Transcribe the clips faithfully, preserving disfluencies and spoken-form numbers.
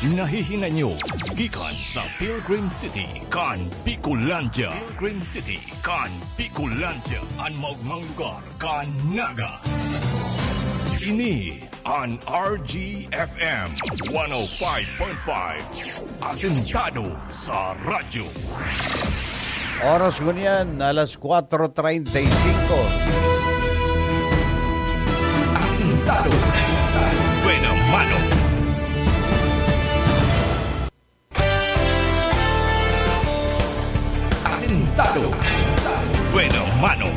Nahihinanyo gikan sa Pilgrim City kan Bicolandia. Pilgrim City kan Bicolandia, an maogmang lugar kan Naga. Ini an R G F M one oh five point five, asentado sa radyo. Oras ngunyan, alas kwatro treinta y cinco. Asentado. Buena mano. Asentado. Buena mano.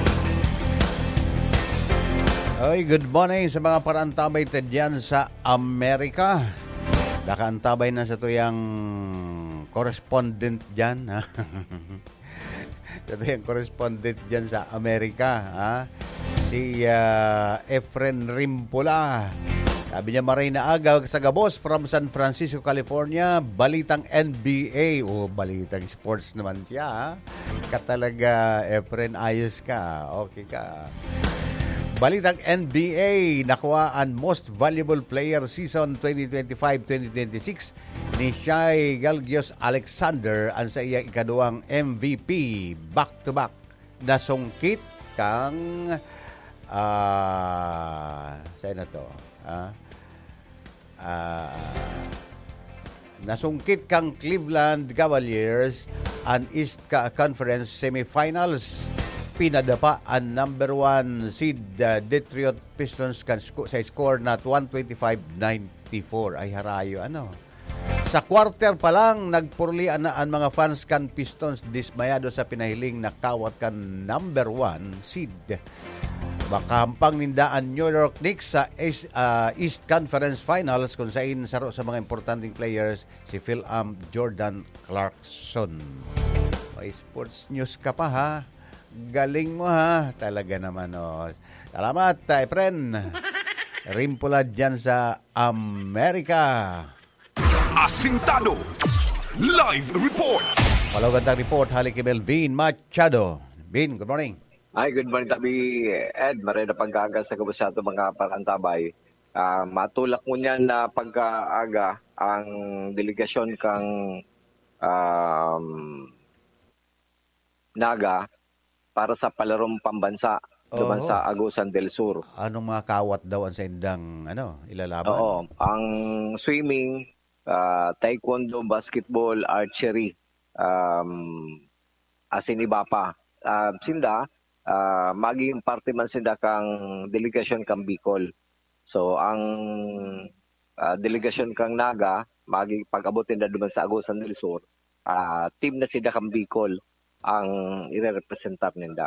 Oy, good morning sa mga parantabay ta dyan sa Amerika. Nakaantabay na sa tuyang correspondent dyan, ha? Ito yung correspondent dyan sa Amerika, ha? Si, ah, Efren Rimpula. Sabi niya, "Maray na aga sa gabos from San Francisco, California. Balitang N B A." O, balitang sports naman siya, ha? Ka talaga, Efren, ayos ka. Okay ka. Balitang N B A, nakuha ang Most Valuable Player Season twenty twenty-five twenty twenty-six ni Shai Gilgeous-Alexander, ang sa iya ikaduwang M V P, back-to-back, nasungkit kang, ah, saan na to? Ah, ah, nasungkit kang Cleveland Cavaliers an East Ca-, Conference Semifinals. Pinadapa an number one seed, ah, Detroit Pistons kan sco-, sa score na one twenty-five ninety-four. Ay, harayo, ano? Sa quarter pa lang, nagpuruli na an mga fans kan Pistons, dismayado sa pinahiling na kawat kan number one seed. Makahampang ninda an New York Knicks sa East, ah, East Conference Finals, kung sain saro sa mga importanteng players si Phil-Am Jordan Clarkson. May sports news ka pa, ha? Galing mo, ha? Talaga naman, oh. Salamat, ah, Efren. Rimpula dyan sa Amerika. Asintado. Live report. Palawagan tang report, hali ki Melvin Machado. Vin, good morning. Ay, good morning, tabi, Ed. Maray na pagkaaga sa gabos sa ato mga parantabay. Ah, matulak mo niyan na pagkaaga ang delegasyon kang, um, Naga para sa palarong pambansa duman Oo. sa Agusan del Sur. Anong mga kawat daw ang saindang, ano, ilalaban? Oo, ang swimming, ah, taekwondo, basketball, archery, um, asin iba pa. Ah, sinda, ah, magiging parte man sinda kang delegasyon kang Bicol. So, ang, ah, delegasyon kang Naga, magi-, pag-abot ninda duman sa Agusan del Sur, ah, team na sinda kang Bicol ang irerepresentar ninda.